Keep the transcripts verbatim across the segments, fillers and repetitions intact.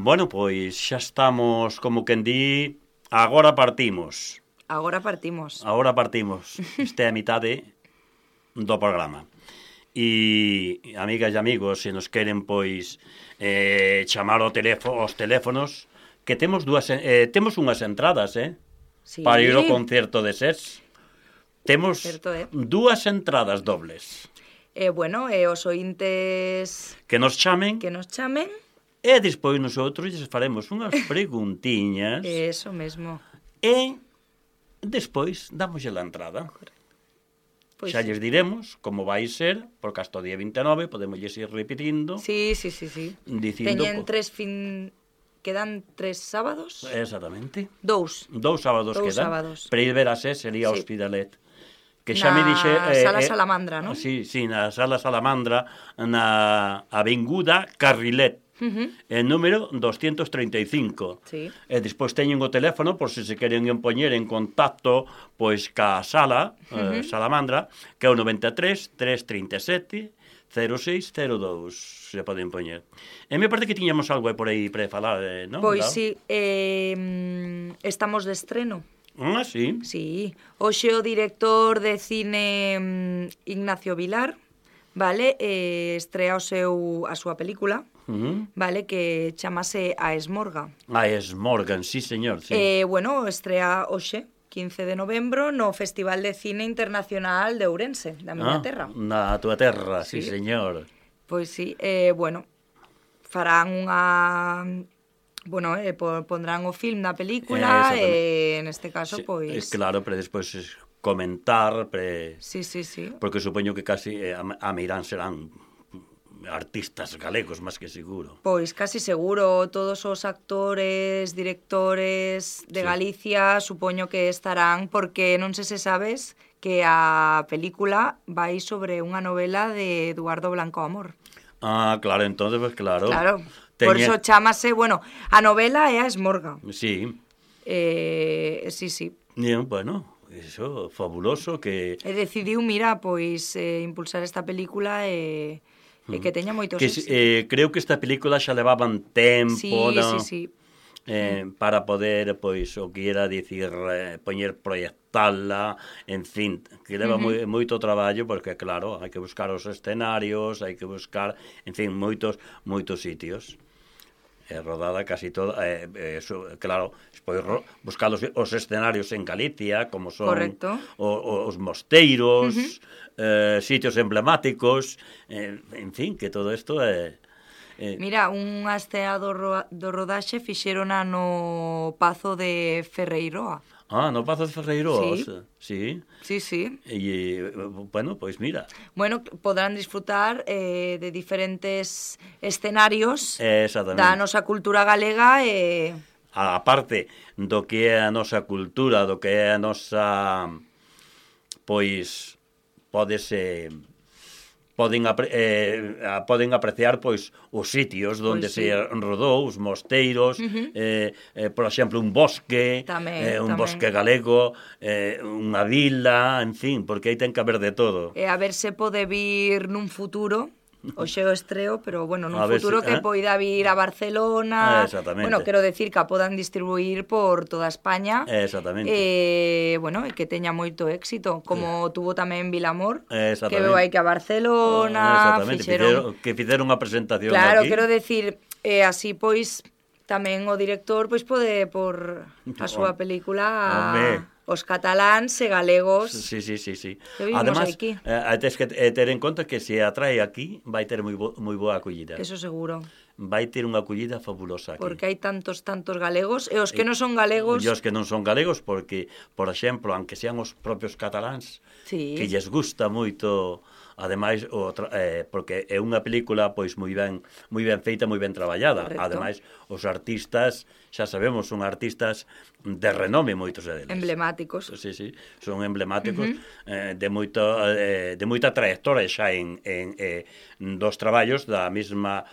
Bueno, pois xa estamos, como quen di, agora partimos. Agora partimos. Agora partimos. Esta é a mitade do programa. E, amigas e amigos, se nos queren, pois, eh, chamar ao teléfono, aos teléfonos, que temos dúas, eh, temos unhas entradas, eh? Sí. Para ir ao concerto de SES. Temos Certo, eh? dúas entradas dobles. Eh, bueno, e eh, os ointes Que nos chamen. que nos chamen. E despois nosotros lles faremos unhas preguntiñas. Eso mesmo. E despois damoslle a entrada. Pois Xa sí. lles diremos como vai ser, porque hasta o día vinte e nove podemos lles ir repetindo. Sí, sí, sí, sí. Dicindo... Teñen tres fin... Quedan tres sábados? Exactamente. Dous. Dous sábados Dous quedan. sábados. Para ir ver a SES sería Sí. Hospitalet. Que xa Na me dixe... Sala Salamandra, non? Sí, sí, na Sala Salamandra, na Avenguda Carrilet. Uh-huh. El número doscientos treinta e cinco. Sí. E despois teñen o teléfono por se se queren poñer en contacto pois ca sala, uh-huh. eh, Salamandra, que é o noventa e tres, trescentos e trinta e sete, cero seis cero dous, se poden poñer. E me parece que tiñamos algo por aí para falar, eh, non? Pois Claro. sí, eh, estamos de estreno. Ah, sí. Sí, hoxe o director de cine mm, Ignacio Vilar, vale, eh, estrea o seu, a súa película, Uh-huh. vale, que chamase A Esmorga. Ah, es Morgan, sí, señor, sí. Eh, bueno, estrea hoxe, quince de novembro, no Festival de Cine Internacional de Ourense, da miña ah, terra. Na túa terra, sí, Sí. señor. Pois sí, eh, bueno, farán unha... Bueno, eh, pondrán o film da película e, eh, neste caso, Sí, pois... eh, claro, pero despois es comentar, pre... Sí, sí, sí. porque supoño que casi eh, a, a Meirán serán artistas galegos, máis que seguro. Pois casi seguro, todos os actores, directores de Sí. Galicia supoño que estarán, porque non sei se sabes que a película vai sobre unha novela de Eduardo Blanco Amor. Ah, claro, entonces, pues claro. Claro, Teñe... por eso chámase, bueno, a novela é a Esmorga. Sí, Eh, sí, sí. bien, bueno, eso, fabuloso que... E decidiu, mira, pois eh, impulsar esta película e, e que teña moitos que éxitos. eh, creo que esta película xa levaban tempo, Sí, ¿no? sí, sí. Eh, para poder, pois, o que era dicir, eh, poñer, proyectala, en fin, que leva uh-huh. moi, moito traballo, porque, claro, hai que buscar os escenarios, hai que buscar, en fin, moitos, moitos sitios. É rodada casi toda, eh, eh, so, claro, despois ro, buscar os, os escenarios en Galicia, como son Correcto. O, o, os mosteiros, Uh-huh. eh, sitios emblemáticos, eh, en fin, que todo isto é... Eh, Mira, unha escena do, ro do rodaxe fixerona no Pazo de Ferreiroa. ah, no Pazo de Ferreiros, Sí. sí. Sí, sí. E, bueno, pois mira. Bueno, podrán disfrutar eh, de diferentes escenarios Exactamente. da nosa cultura galega e... A parte do que é a nosa cultura, do que é a nosa... Pois, pódese... Poden, apre, eh, poden apreciar pois os sitios onde Pois sí. se rodou, os mosteiros, Uh-huh. eh, eh, por exemplo, un bosque, Tamén, eh, un tamén. bosque galego, eh, unha vila, en fin, porque aí ten que haber de todo. E a ver se pode vir nun futuro, hoxe o estreo, pero bueno, nun A ver futuro si, que eh? poida vir a Barcelona. Ah, exactamente. Bueno, quero decir que a podan distribuir por toda España. Exactamente. E, bueno, e que teña moito éxito, como tuvo tamén Vilamor, Exactamente. que veu aí que a Barcelona, Exactamente, fixeron... fixeron, que fixeron unha presentación Claro, aquí. quero decir, eh, así pois tamén o director pois pode por a súa película a, Home. os cataláns e galegos. Sí, sí, sí, sí. Que vivimos Además, aquí. eh, tes que eh, ter en conta que se atrae aquí vai ter moi, bo, moi boa acollida. Eso seguro, Vai ter unha acollida fabulosa aquí. porque hai tantos, tantos galegos, e os que non son galegos... E os que non son galegos, porque, por exemplo, aunque sean os propios cataláns, Sí. que lles gusta moito, ademais, o, tra- eh, porque é unha película pois moi ben, moi ben feita, moi ben traballada. Correcto. Ademais, os artistas, xa sabemos, son artistas de renome moitos deles. Emblemáticos. Sí, sí, son emblemáticos, uh-huh. eh, de moito eh, de moita trayectoria xa en, en eh, dos traballos da mesma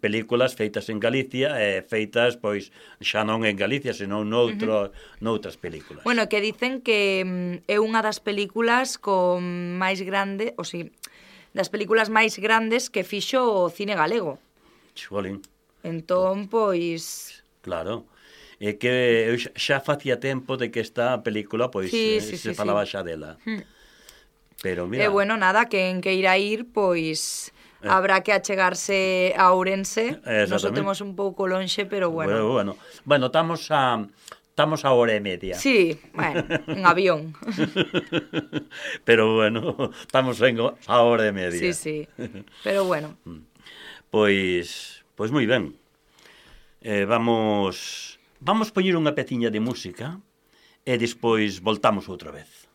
películas feitas en Galicia e eh, feitas pois xa non en Galicia, senón noutro, uh-huh. noutras películas. Bueno, que dicen que mm, é unha das películas con máis grande, o si, das películas máis grandes que fixo o cine galego. Xolín. Entón, pois... Claro. É que eu xa facía tempo de que esta película, pois, sí, eh, sí, se sí, falaba sí. xa dela. Mm. Pero, mira... E, bueno, nada, quen que irá ir, pois... Eh. Habrá que achegarse a Ourense. Nos o Exactamente. temos un pouco lonxe, pero Bueno, bueno. bueno. Bueno, estamos a... Estamos a hora e media. Sí, bueno, en avión. Pero, bueno, estamos en a hora e media. Sí, sí. Pero, bueno. Pois... Pois moi ben. Eh, vamos... Vamos poñer unha peciña de música e despois voltamos outra vez.